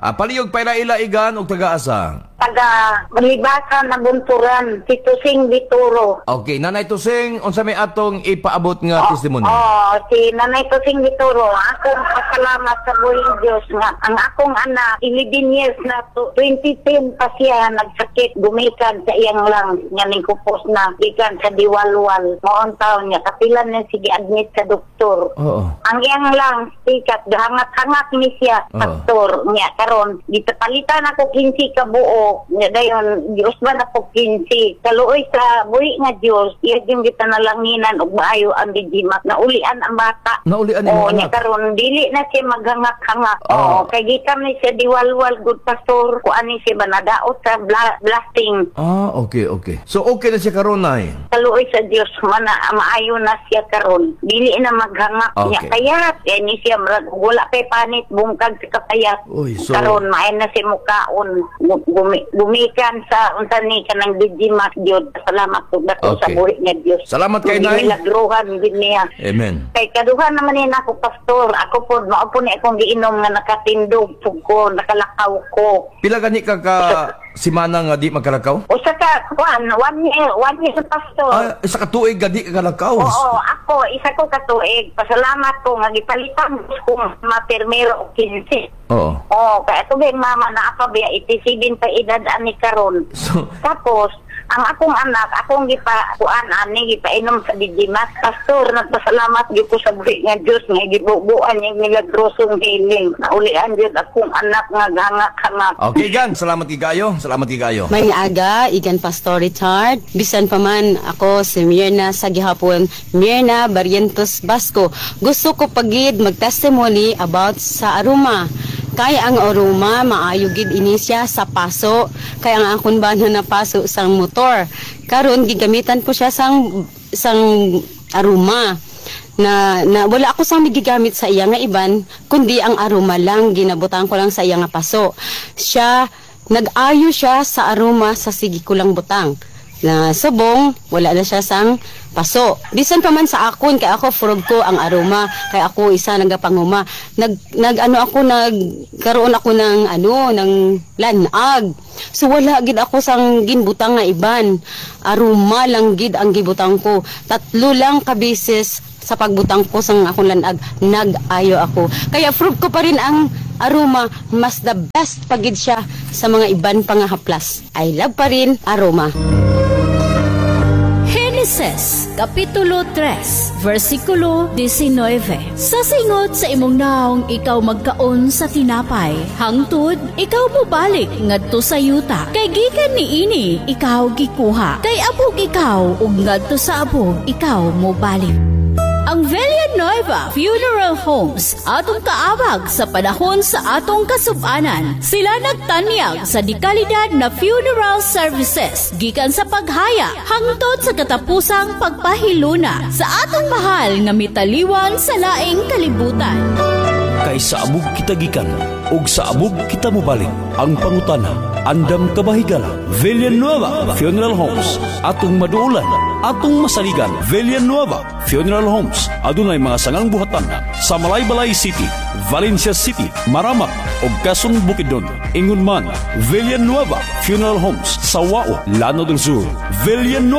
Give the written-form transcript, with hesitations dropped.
Ah, palihog paila-ila, Igan, og taga-asa? Taga Libasan, Nabunturan, si Tusing Bituro. Okay, Nanay Tusing, unsa may atong ipaabot nga testimony? Oh, si Nanay Tusing Bituro, akong pasalamat sa buhing Diyos nga ang akong anak 11 years na to, 2010 pa siya nagsakit, gumikan sa iyang lang nga ning kupos na gikan sa Diwalwal. Moon taon niya kapilan na sige admit sa doktor. Ang iyang lang sikat gahangat-hangat ni siya, pastor. Niya karon gitapalitan ako 15 ka buok. Niya dayon giusban ako 15. Kaluoy sa buhi nga Dios, iya yung gitanalanginan og maayo ang Digimax, naulian ang bata. Naulian imong Oo, niya anak? Karon dili na siya maghangak-hangak. Oo, kay gikan ni siya Diwalwal good, pastor. Kuan ni siya ba, nadaot sa blasting. Ah, okay. So okay na siya karon, Nay? Kaluoy sa Dios, mana maayo na siya karon, dili na maghangak. Niya kaya kaya ni siya murag wala kay panit bungkag sa kapayat. Uy, Karon maayo na siya mukaon. Gumikan sa unsa ni kanang Digimax gyud. Salamat po dako sa buhi nga Dios. Salamat kay Nay. Milagruhan gid niya. Amen. Kay kaduha naman ni ako, pastor. Ako po, mao po ni akong giinom nga nakatindog pug ko, nakalakaw ko. Pila gani ka ka simana nga di magkalakaw? Usa ka kuan, one year, one year, pastor. Ah, isa ka tuig nga di ka kalakaw. Oo, ako, isa ko katuig. Pasalamat ko nga gipalitan ko mapirmero og 15. Oo, kaya ito ba yung mama na ako biya 87 pa edad ani karon. So, Tapos, ang akong anak, akong gipa kuan ani, gipainom sa Digimax. Pastor, nagpasalamat gyud ko sa buhi nga Dios nga gibubuan niya milagrosong healing. Naulian gyud akong anak nga gangak-hangak. Okay gan, salamat kay kayo. Salamat kay kayo. May aga, igan Pastor Richard. Bisan pa man ako si Mirna sa gihapon, Mirna Barrientos Basco. Gusto ko pagid mag-testimony about sa aroma. Kay ang aroma maayo gid ini siya sa paso. Kay ang akon bana na paso sang motor. Karon gigamitan ko siya sang aroma na, na wala ako sang gigamit sa iya nga iban kundi ang aroma lang, ginabutang ko lang sa iya nga paso. Siya nag-ayo siya sa aroma sa sige ko lang butang na subong wala na siya sang paso. Bisan pa man sa akon, kay ako furog ko ang aroma, kay ako isa nagapanguma, nag nag ano ako, nagkaroon ako ng ano ng lanag. So wala gid ako sang ginbutang nga iban, aroma lang gid ang gibutang ko. Tatlo lang ka beses sa pagbutang ko sang akong lanag, nag-ayo ako. Kaya proof ko pa rin ang aroma, mas the best pagid siya sa mga iban pa nga haplas. I love pa rin aroma. Henesis, Kapitulo 3, versikulo 19. Sa singot sa imong naong ikaw magkaon sa tinapay, hangtod ikaw mobalik ngadto sa yuta. Kay gikan niini ikaw gikuha. Kay abog ikaw ug ngadto sa abog ikaw mobalik. Ang Villanueva Funeral Homes, atong kaabag sa panahon sa atong kasubanan. Sila nagtanyag sa dekalidad na funeral services gikan sa paghaya hangtod sa katapusang pagpahiluna sa atong mahal nga mitaliwan sa laing kalibutan. Kay sa abog kita gikan ug sa abog kita mobalik. Ang pangutana, andam ka ba higala? Villanueva Funeral Homes, atong maduulan, atong masaligan. Villanueva Funeral Homes adunay mga sangang buhatan sa Malaybalay City, Valencia City, Maramag ug Quezon, Bukidnon. Ingon man, Villanueva Funeral Homes sa Wao, Lanao del Sur. Villanueva